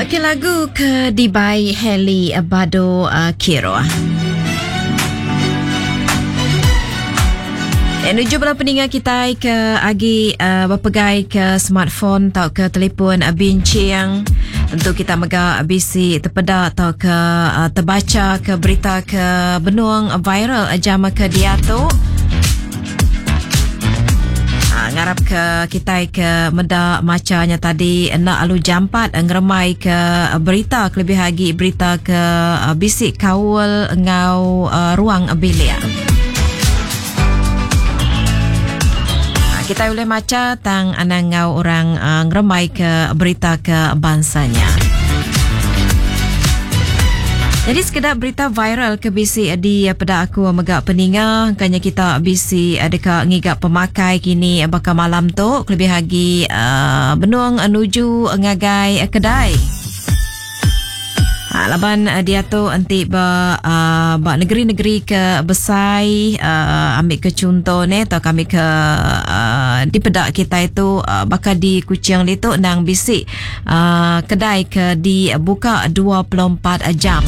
Okey lagu ke dibai Hailey Bado Kiroh. Eh, nuju bala peninga kitai ke agi uh, bepegai ke smartphone tau ke telefon uh, binching. Tentu kita mega bisi tepeda tau ke uh, terbaca ke berita ke benung viral jam ke diatu. Ha, ngarap ke kitai ke meda macha nya tadi enda alu jampat ngeremai ke berita kelebih agi berita ke uh, bisi kaul enggau uh, ruang bilik. Ha, kitai ulih macha tang anang enggau orang uh, ngeremai ke berita ke bansa nya. Jadi sekeda berita viral ke bisi di peda aku mega peninga kanya kita bisi deka ngiga pemakai kini baka malam tu kelebih agi uh, benung nuju ngagai kedai. Ha, laban uh, diatu enti ba uh, ba negeri-negeri ke besai uh, ambil ke contoh ne atau kami ke uh, dipeda kita itu uh, baka di Kuching ditu nang bisi uh, kedai ke dibuka 24 jam.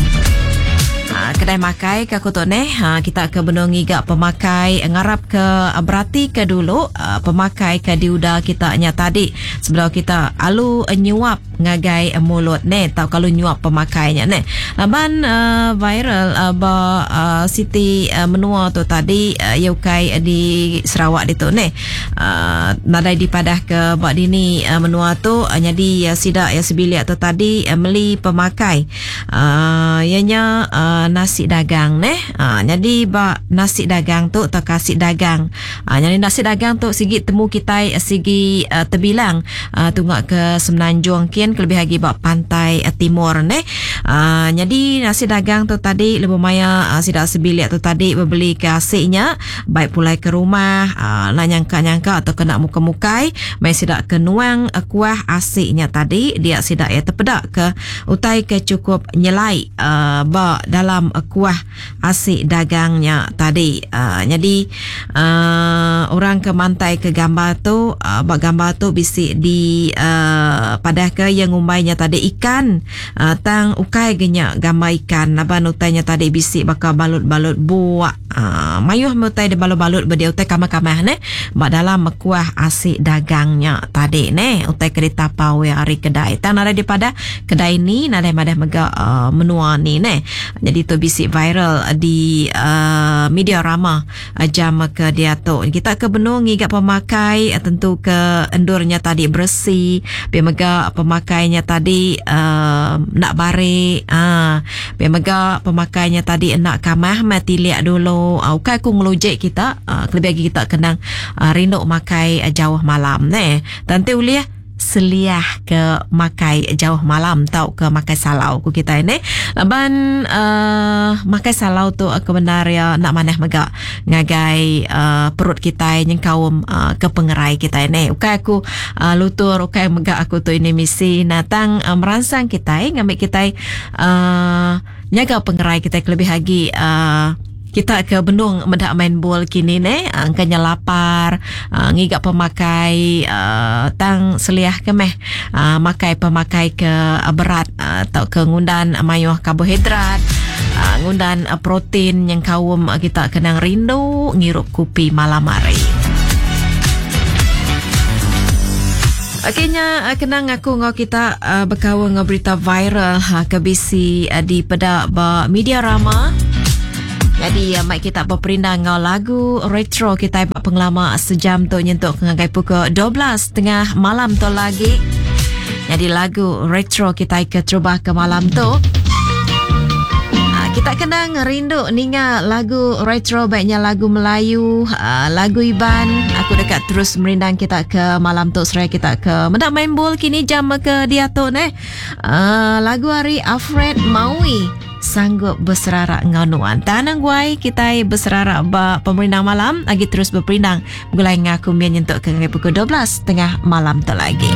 Ha, kedai makai ke aku tu neh ha, kita ke benung ngiga pemakai ngarap ke berati ke dulu uh, pemakai ke diuda kita nya tadi sebelum kita alu nyuap ngagai mulut neh tau kalau nyuap pemakai nya neh. Laban uh, viral uh, ba uh, siti uh, menua tu tadi uh, ia ukai di Sarawak ditu neh. Uh, nadai dipadah ke ba dini uh, menua tu uh, nyadi uh, sida ya sebilik tu tadi uh, meli pemakai uh, ianya uh, nasi dagang neh. Uh, jadi ba nasi dagang tu atau kasih dagang. Uh, jadi nasi dagang tu sigi temu kitai sigi uh, terbilang uh, tunga ke Semenanjung kin kelebih lagi ba pantai uh, timur neh. Uh, jadi nasi dagang tu tadi lebuh maya uh, sida sebilik tu tadi bebeli ke asiknya Baik pulai ke rumah, enda nyangka-nyangka atau kena mukai-mukai, meh sida ke nuang kuah asi nya tadi, dia sida iya tepeda ke utai ke chukup nyelai ba dalam kuah asi dagang nya tadi. Nyadi orang ke mantai ke gambar tu, ba gambar tu bisi di padah ke iya ngumbai nya tadi ikan tang ukai ga nya gambar ikan laban utai nya tadi bisi baka balut-balut buak. Aa, mayuh meh utai dibalut-balut ba dia utai kamah-kamah neh ba dalam kuah asi dagang nya tadi neh utai ke ditapau iya ari kedai. Tang nadai dipadah kedai ni nadai madah mega aa menua ni neh. Nyadi tu bisi viral di aa media rama jam ke diatu. Kita ke benung ngiga pemakai tentu ke endur nya tadi beresi pia mega pemakai nya tadi aa enda barik aa. Pia mega pemakai nya tadi enda kamah meh tilik dulu. Uh, ukai aku ngelujik kita, uh, kelebih agi kita kenang uh, rindu makai uh, jauh malam neh. Tang ti ulih seliah ke makai jauh malam tau ke makai salau ku kita ini. Laban uh, makai salau tu uh, kebenar ya enda manah mega ngagai uh, perut kitai nyengkaum uh, ke pengerai kitai ni. Ukai aku uh, lutur, ukai mega aku tu ini misi natang uh, meransang kitai ngambi kitai uh, nyaga pengerai kita kelebih agi uh, kita ke benung meda main bol kini ne uh, engka nya lapar uh, ngiga pemakai uh, tang seliah ke meh uh, makai pemakai ke uh, berat uh, tau ke ngundan mayuh karbohidrat uh, ngundan uh, protein nyengkaum uh, kita kenang rindu ngirup kopi malam hari. Okey nya eh, kenang aku enggau kita uh, bekaul enggau berita viral ha, ke bisi uh, dipeda ba media rama. Jadi uh, mai kita beperindang enggau lagu retro kita ba pengelama sejam tu nyentuk ke ngagai pukul 12.30 malam tu lagi. Jadi lagu retro kita ke terubah ke malam tu. Kita kenang rindu ninga lagu retro baiknya lagu Melayu, lagu Iban. Aku deka terus merindang kita ke malam tu seraya kita ke meda main bol kini jam ke diatu neh. Uh, lagu ari Alfred Maui sanggup beserara enggau nuan. Tanang guai kitai beserara ba pemerindang malam agi terus beperindang begulai enggau aku Mian nyentuk ke ngagai pukul 12 tengah malam tu lagi.